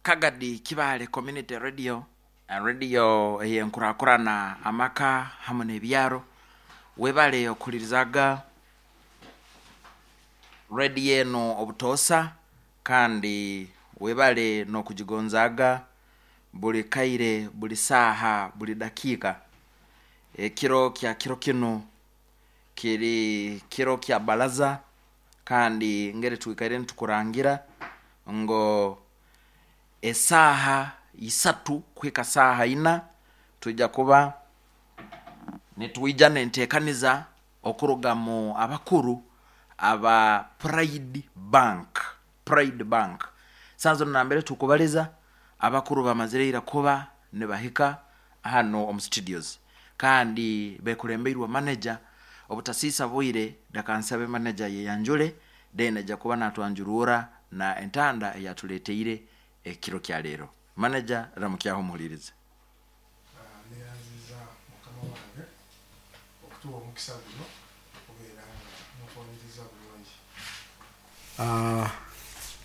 Kagadi Kibaale Community Radio, radio ey'enkurakurana amaka hamu n'ebyaro. Webale okuhulirizaga radio eno obutoosa kandi webale n'okugigonzaaga buli kaire, buli saaha, buli dakiika. Ekiro kya kiro kinu kiri kiro kya baraza kandi ngeri twikaire nitukurangira ngu esaaha isatu kuhika saaha ina twija kuba nitwija n'enteekaniza okuruga mu abakuru aba Pride Bank, Pride Bank. Saaha zinu nambere tukubaliza abakuru bamazire ira kuba nibahika hanu omu studios kandi bekulembeirwe manager. Obutasiisa bwire leka nsabe manager ayeyanjule then aija kuba natwanjurura na entanda eyatuleteire ekiro kya leero. Manager, ramukyaho omuhuliriza. Neyanziza mukama wange okutuwa omukisa guno okubeera nga mutwaniriza bulungi.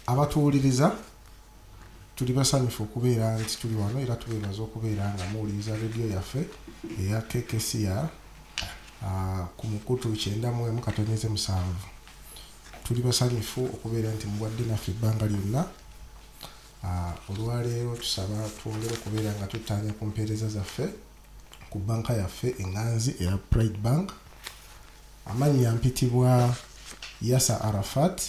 Abatuwuliriza, tuli basanyufu okubeera nti tuli wano era tubeebaza okubeera nga muwuliriza rediyo yaffe eya KKCR ku mukutu 91.7. Tuli basanyufu okubeera nti mubadde naffe ebbanga lyonna. Olwaleero tusaba twongere okubeera nga tuttaanya ku mpeereza zaffe ku bbanka yaffe eŋŋanzi eya Pride Bank. Amannya mpitibwa Yasa Arafat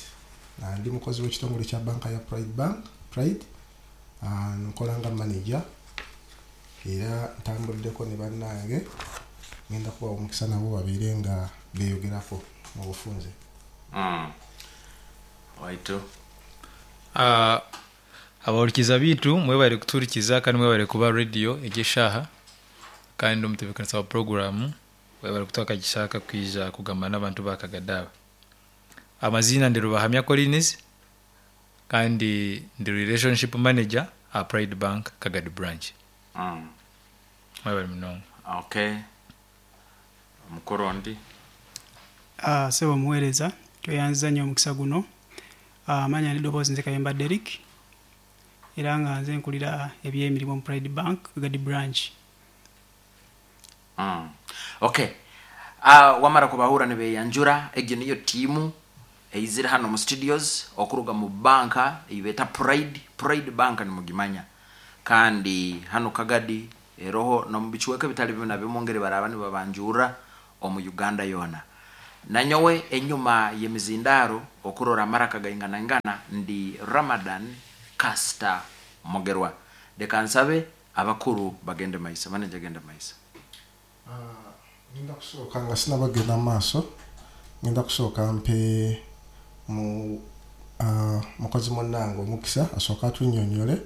nga ndi mukozi w'ekitongole kya bbanka ya Pride Bank, Pride. Nkola nga manager era ntambuddeko ne bannange, ngenda kubawa omukisa nabo babeere nga beeyogerako mu bufunze. Waitu. Abahurikiza baitu mwebare kutuhurikiza kandi mwebare kuba rediyo egi eshaaha kandi omutebeekanisa wa puroguraamu webare kutuha akagisha aka kwija kugamba n'abantu ba Kagadi aba. Amaziina ndi Rubahamya Collins kandi ndi relationship manager aha Pride Bank Kagadi branch. Mwebare munonga. Okay. Omukuru ondi. Ssebo omuweereza, tweyanziza nnyo omukisa guno. Amanya n'eddoboozi nze Kayemba Derrick era nga nze nkulira eby'emirimu mu Pride Bank Kagadi branch. Okay. Wamara kubahurra nibeyanjura, egyo niyo tiimu eizire hanu omu studios okuruga mu banka ei beeta Pride. Pride Bank nimugimanya. Kandi hanu Kagadi eroho n'omu bicweka ebitali bimu na bimu ngeri baraaba nibabanjurra omu Uganda yoona. Nanyowe enyuma y'emizindaaro okurora amaraka gainganaingana ndi Ramadan Castor Mugerwa. Leka nsabe abakuru bagende maiso. Manager genda maiso. Ngenda kusooka nga sinabagenda mu maaso, ngenda kusooka mpe mu mukozi munnange omukisa asooke atunnyonnyole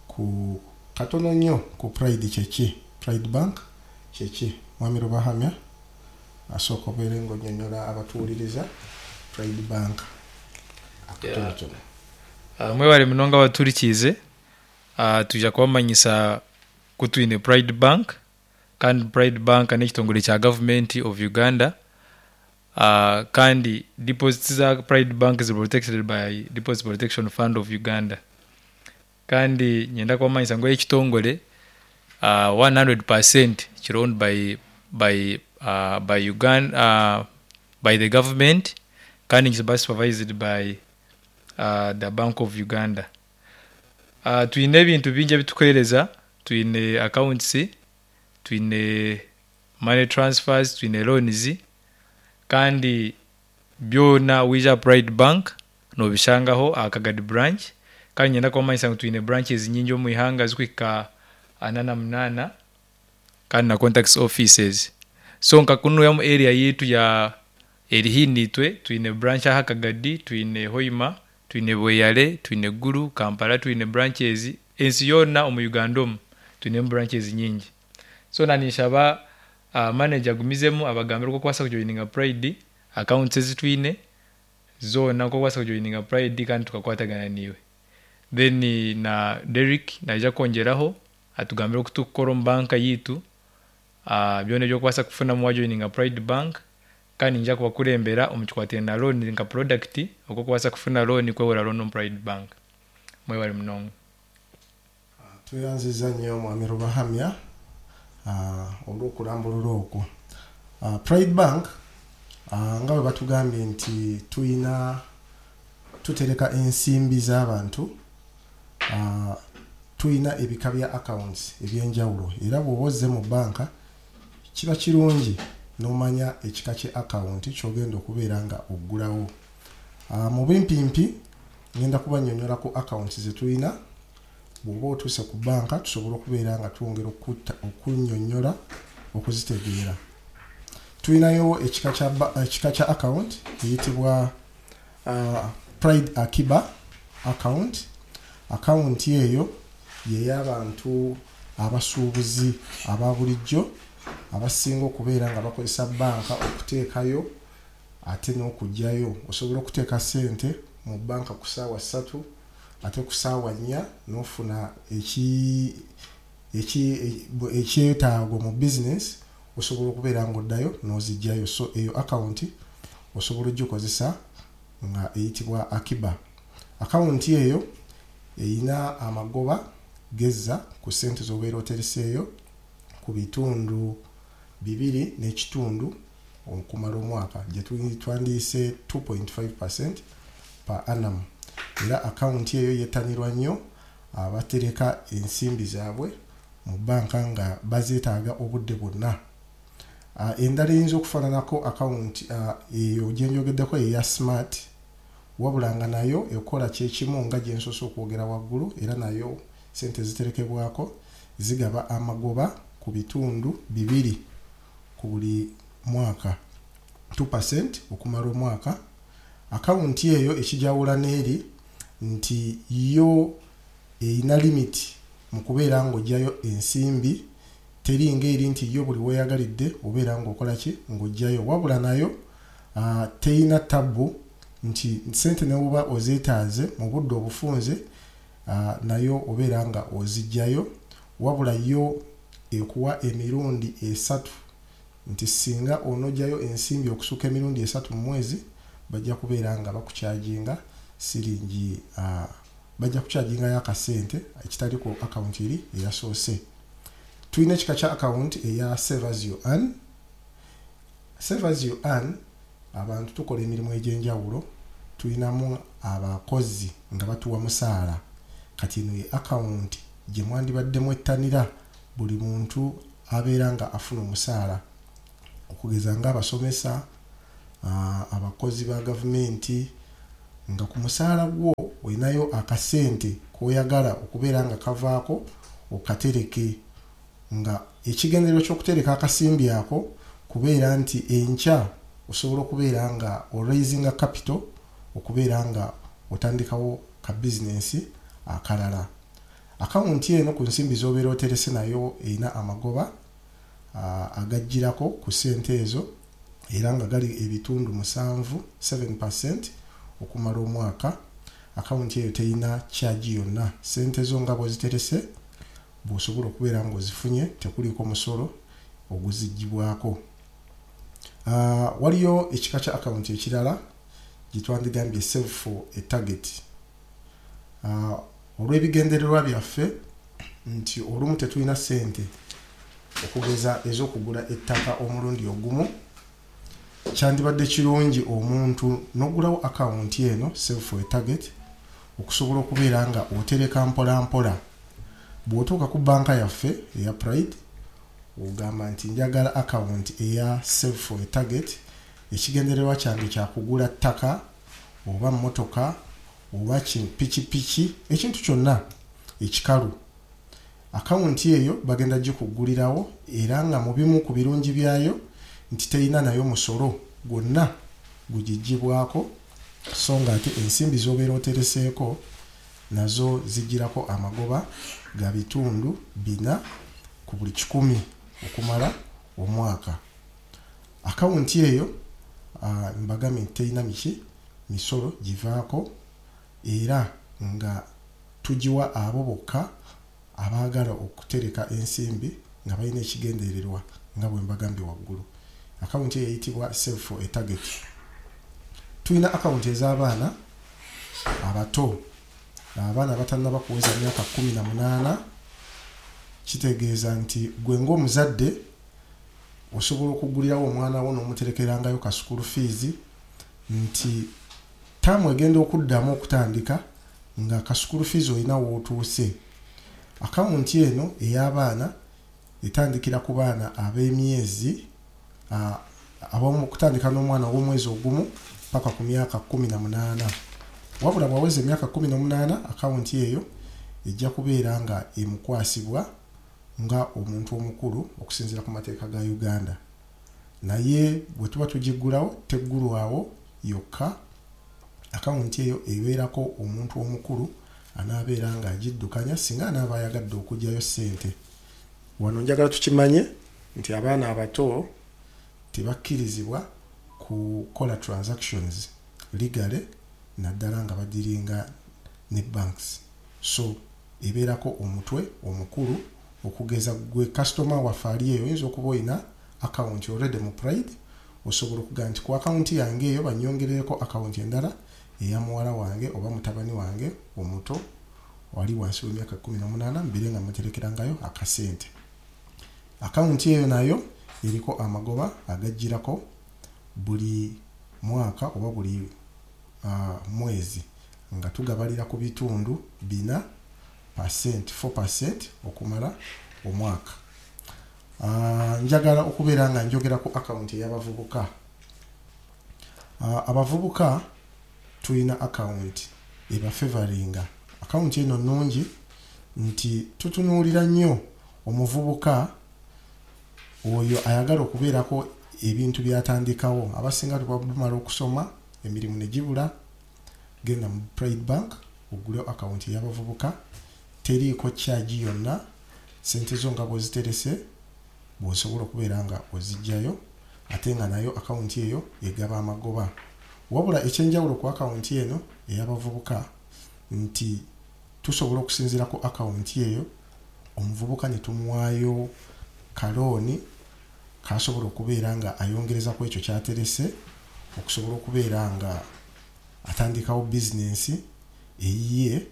ku katono nnyo ku Pride kyeki, Pride Bank kyeki. Mwami Rubahamya asooka obeere ng'onnyonnyola abatuwuliriza Pride Bank akatonotono. Mwebare munonga abatuhurikiize, twija kubamanyisa ku twine Pride Bank kandi Pride Bank n'ekitongore kya gavumenti of Uganda kandi deposits za Pride Bank ziri protected by Deposit Protection Fund of Uganda. Kandi niinyenda kubamanyisa ngu ekitongore 100% kiri owned by Uganda by the government kandi nikiba supervised by the Bank of Uganda. Twine ebintu bingi ebi turikuheereza, twine accounts, twine money transfers, twine loans kandi byona waija aha Pride Bank noobishangaho aha Kagadi branch kandi niinyenda kubamanyisa ngu twine branches nyingi omu ihanga zirikuhika ana na munaana kandi na contacts offices. So nka kunu omu area yaitu ya eri haihi naitwe twine branch aha Kagadi, twine Hoima, twine Bweyale, twine Gulu, Kampala twine branches, ensi yoona omu Uganda omu twinemu branches nyingi. So naninshaba manager agumizemu abagambire oku orikubaasa kujoininga Pride, accounts ezi twine zoona oku orikubaasa kujoininga Pride kandi tukakwatagana naiwe. Then na Derrick naija kwongyeraho atugambire oku turikukora omu banka yaitu, byona ebi orikubaasa kufunamu wajoininga Pride Bank kandi niinyija kubakurembera omu kikwatiraine na loan nka product oku orikubaasa kufuna loan kwehura loan omu Pride Bank. Mwebale munonga. Tweyanziza nnyo mwami Rubahamya olw'okulambulula okwo. Pride Bank, nga bwe batugambye nti tuyina tutereka ensimbi z'abantu, tuyina ebika bya accounts ebyenjawulo, era bw'oba ozze mu banka kiba kirungi n'omanya ekika kye account ky'ogenda okubeera nga oggulawo. Mu bimpimpi ngenda kubannyonnyola ku accounts ze tulina. Bw'oba otuuse ku banka tusobola okubeera nga twongera okunnyonnyola okuzitegeera. Tulinayo ekika kya account eyitibwa Pride Akiba account. Account eyo yey'abantu abasuubuzi aba bulijjo abasinga okubeera nga bakozesa banka okuteekayo ate n'okugyayo. Osobola okuteeka ssente mu banka ku ssaawa 3 ate ku ssaawa 4 n'ofuna ekyetaago mu business, osobola okubeera ng'oddayo n'ozigyayo. So eyo account osobola ogikozesa nga eyitibwa Akiba. Account eyo eyina amagoba gezza ku ssente z'obeera otereseeyo ku bitundu 2.5 okumala omwaka, gye twandiyise 2.5% per annum. Era account eyo yettanirwa nnyo abatereka ensimbi zaabwe mu banka nga bazeetaaga obudde bwonna. Endala eyinza okufaananako account eyo gye njogeddeko eya Smart, wabula nga nayo ekola kyekimu nga gye nsoose okwogera waggulu, era nayo sente ziterekebwako zigaba amagoba ku bitundu 2 ku buli mwaka, 2% okumala omwaka. Akawunti eyo ekijawula n'eri nti yo erina limit mu kubeera ng'oggyayo ensimbi, teri ng'eri nti yo buli weeyagalidde obeera ng'okola ki ng'oggyayo, wabula nayo teyina tabbu nti sente ne bw'oba ozeetaaze mu budde obufunze, nayo obeera nga oziggyayo, wabula yo ekuwa emirundi 3 nti singa onoggyayo ensimbi okusukka emirundi 3 mu mwezi bajja kubeera nga bakukyajinga siringi, bajja kukyajingayo akasente ekitali ku akawunti eri eyasoose. Tulina ekika kya akawunti eya Save As You Earn. Save As You Earn, abantu tukola emirimu egy'enjawulo, tulinamu abakozi nga batuwa musaala. Kati eno ye akawunti gye mwandibadde mwettanira buli muntu abeera nga afuna omusaala, okugeza ng'abasomesa, abakozi ba gavumenti, nga ku musaala gwo olinayo akasente k'oyagala okubeera nga kavaako okatereke, nga ekigendererwa ky'okutereka akasimbi ako kubeera nti enkya osobola okubeera nga oraisinga capital okubeera nga otandikawo ka bizinensi akalala. Akawunti eno ku nsimbi z'obeera oterese nayo erina amagoba agaggyirako ku ssente ezo, era nga gali ebitundu 7, 7% okumala omwaka. Akawunti eyo terina charge yonna, ssente zo nga bw'oziterese bw'osobola okubeera ng'ozifunye, tekuliiko musolo oguziggyibwako. Waliyo ekika kya akawunti ekirala gye twandigambye Save for a Target. Olw'ebigendererwa byaffe nti olumu tetulina ssente okugeza ez'okugula ettaka omulundi ogumu, kyandibadde kirungi omuntu n'ogulawo akawunti eno Save for a Target okusobola okubeera nga otereka mpola mpola. Bw'otuuka ku banka yaffe eya Pride ogamba nti njagala akawunti eya Save for a Target, ekigendererwa kyange kyakugula ttaka oba mmotoka oba pikipiki, ekintu kyonna ekikalu. Akawunti eyo bagenda gikuggulirawo, era nga mu bimu ku birungi byayo nti terina nayo musolo gwonna gugiggyibwako, so nga ate ensimbi z'obeera otereseeko nazo zigirako amagoba ga bitundu 4 ku buli 100 okumala omwaka. Akawunti eyo mbagambye nti terina miki misolo givaako, era nga tugiwa abo bokka abaagala okutereka ensimbi nga balina ekigendererwa nga bwe mbagambye waggulu. Akawunti eyo eyitibwa Save for a Target. Tulina akawunti ez'abaana abato. Abaana abatannaba kuweza myaka 18, kitegeeza nti gwe ng'omuzadde osobola okugulirawo omwana wo n'omuterekerangayo ka school fees, nti taamu egenda okuddamu okutandika nga ka school fees olina wootuuse. Akawunti eno ey'abaana etandikira ku baana ab'emyezi okutandika n'omwana ow'omwezi 1 paka ku myaka 18. Wabula bw'aweza emyaka 18, akawunti eyo ejja kubeera nga emukwasibwa nga omuntu omukulu okusinziira ku mateeka ga Uganda. Naye bwe tuba tugiggulawo, teggulwawo yokka. Akawunti eyo ebeerako omuntu omukulu anaabeera ng'agiddukanya singa anaaba ayagadde okuggyayo ssente. Wano njagala tukimanye nti abaana abato tebakkirizibwa kukola transactions legally, naddala nga badealinga ne banks. So ebeerako omutwe omukulu. Okugeza gwe kasitoma waffe ali eyo, oyinza okuba olina akawunti already mu Pride, osobola okugamba nti ku akawunti yange eyo banyongerereko akawunti endala eya muwala wange oba mutabani wange omuto wali wansi w'emyaka 18, mbeere nga muterekerangayo akasente. Akawunti eyo nayo eriko amagoba agajjirako buli mwaka oba buli mwezi, nga tugabalira ku bitundu 4%, 4% okumala omwaka. Njagala okubeera nga njogera ku akawunti ey'abavubuka. Abavubuka tulina akawunti ebafavoringa. Akawunti eno nnungi nti tutunuulira nnyo omuvubuka oyo ayagala okubeerako ebintu by'atandikawo. Abasinga tubamala okusoma, emirimu ne gibula. Genda mu Pride Bank ogule akawunti ey'abavubuka, teriiko charge yonna. Sente zo nga bw'oziterese bw'osobola okubeera nga ozijjayo, ate nga nayo akawunti eyo egaba amagoba. Wabula ekyenjawulo ku akawunti eno ey'abavubuka nti tusobola okusinziira ku akawunti eyo omuvubuka ne tumuwaayo kalooni kasobola okubeera nga ayongereza ku ekyo kyaterese, okusobola okubeera nga atandikawo bizinensi eyiye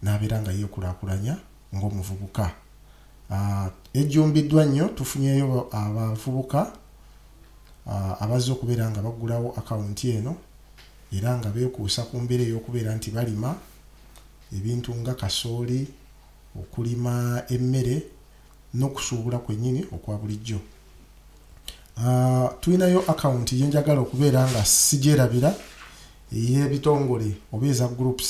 n'abeera nga yeekulaakulanya ng'omuvubuka. Ejjumbiddwa nnyo. Tufunyeyo abavubuka abazze okubeera nga baggulawo akawunti eno, era nga beekuusa ku mbeera ey'okubeera nti balima ebintu nga kasooli, okulima emmere n'okusuubula kwennyini okwa bulijjo. Tulinayo akawunti gye njagala okubeera nga sigyerabira, ey'ebitongole oba eza groups.